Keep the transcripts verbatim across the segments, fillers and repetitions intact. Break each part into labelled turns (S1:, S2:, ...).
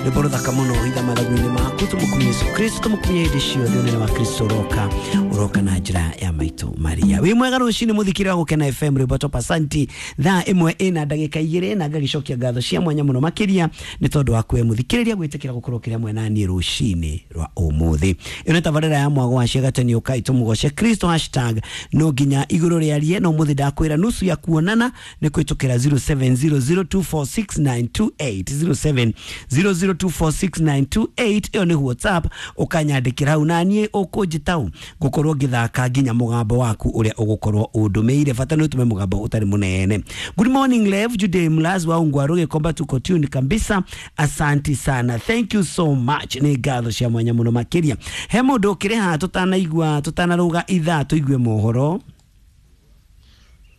S1: Rwĩmbo rũthaka mũno hitha mathagu-inĩ maku, tũmũkumie Yesu Kristo, tũmũkumie hĩndĩ ciothe. Ũnene wa Kristo ũroka, ũroka na njĩra ya maitũ Maria. Wĩ mwega rũcinĩ mũthikĩrĩria wa Gũkena F M, rwĩmbo top asanti. Thaa ĩmwe ĩna ndagĩka igĩrĩ, na ngagĩcokia ngatho cia mwanya mũno makĩria nĩ tondũ wa kwe mũthikĩrĩria gwĩtĩkĩra gũkorwo kĩrĩa mwena niĩ rũcinĩ rwa ũmũthĩ. Ĩno nĩ tabarĩra ya mwago wa ciagatani, ũkai tũmũgoce Kristo, hashtag no nginya igũrũ rĩarie. No mũthĩ ndakwĩra nusu ya kuonana nĩ kwĩtũkĩra zero seven zero zero two four six nine two eight, zero seven zero zero two four six nine two eight. Ĩyo nĩ WhatsApp, ũkanyandĩkĩra hau na niĩ ũkũnjĩta ngũkorwo ngĩthaka nginya mũgambo waku ũrĩa ũgũkorwo ũndũmĩire, bata nĩ ũtũme mũgambo ũtarĩ mũnene. Good morning Lev Jude Mlazi wa Ungwaru Gikomba, tuko tune kabisa, asanti sana, thank you so much. Nĩ ngatho cia mwanya mũno makĩria. He mũndũ ũkĩrĩ haha tũtanaigua, tũtanarũga ithaa tũigue mohoro?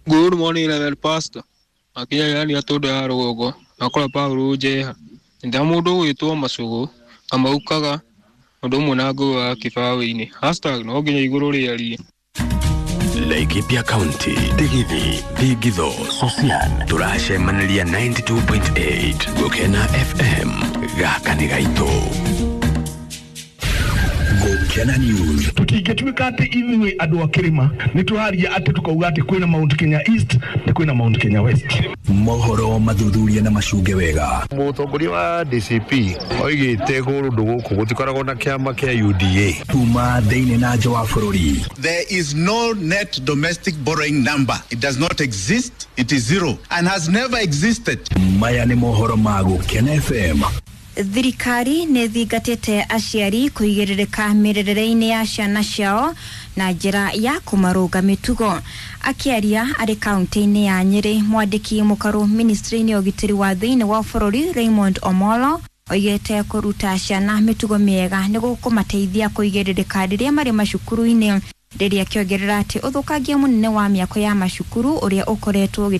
S2: Good morning Level Pastor. Akinya yani atũndũ ya rũgongo akora Paulo njeha nda mũndũ ũgwĩtwo Macũgũ kamaukaga ũndũ ũmwe na ngũgũ wa kĩbaũ-inĩ hashtag no nginya igũrũ rĩarie.
S3: Laikipia County, Digithi, Thingitho, Sosian, tũracemanĩria ninety two point eight Gũkena F M, gaka nĩ gaitũ.
S4: Gũkena News.
S5: Tũtingĩtuĩka atĩ ithuĩ andũ a kĩrĩma nĩ tũraria atĩ tũkauga atĩ kwĩna Mount Kenya East na kwĩna Mount Kenya West.
S4: Mohoro mathuthuria na macunge wega.
S6: Mũtongoria wa D C P oigĩte kũndũ gũkũ gũtikoragwo na kĩama kĩa U D A.
S4: Kuma thĩinĩ na nja wa bũrũri.
S7: There is no net domestic borrowing number. It does not exist. It is zero and has never existed.
S4: Maya nĩ mohoro ma Gũkena F M.
S8: Thirikari nĩ thingatĩte aciari kũigĩrĩrĩka mĩrerere-inĩ ya ciana ciao na njĩra ya kũmarũnga mĩtugo. Akĩaria arĩ kaunti-inĩ ya Nyĩrĩ, mwandĩki mũkaru ministry-inĩ ya ũgitĩri wa thĩinĩ wa bũrũri Raymond Omolo oigĩte kũruta ciana mĩtugo mĩega nĩ gũkũmateithia kũigĩrĩrĩka rĩrĩa marĩ macukuru-inĩ, rĩrĩa akĩongerera atĩ ũthũkangia mũnene wa mĩako ya macukuru ũrĩa ũkoretwo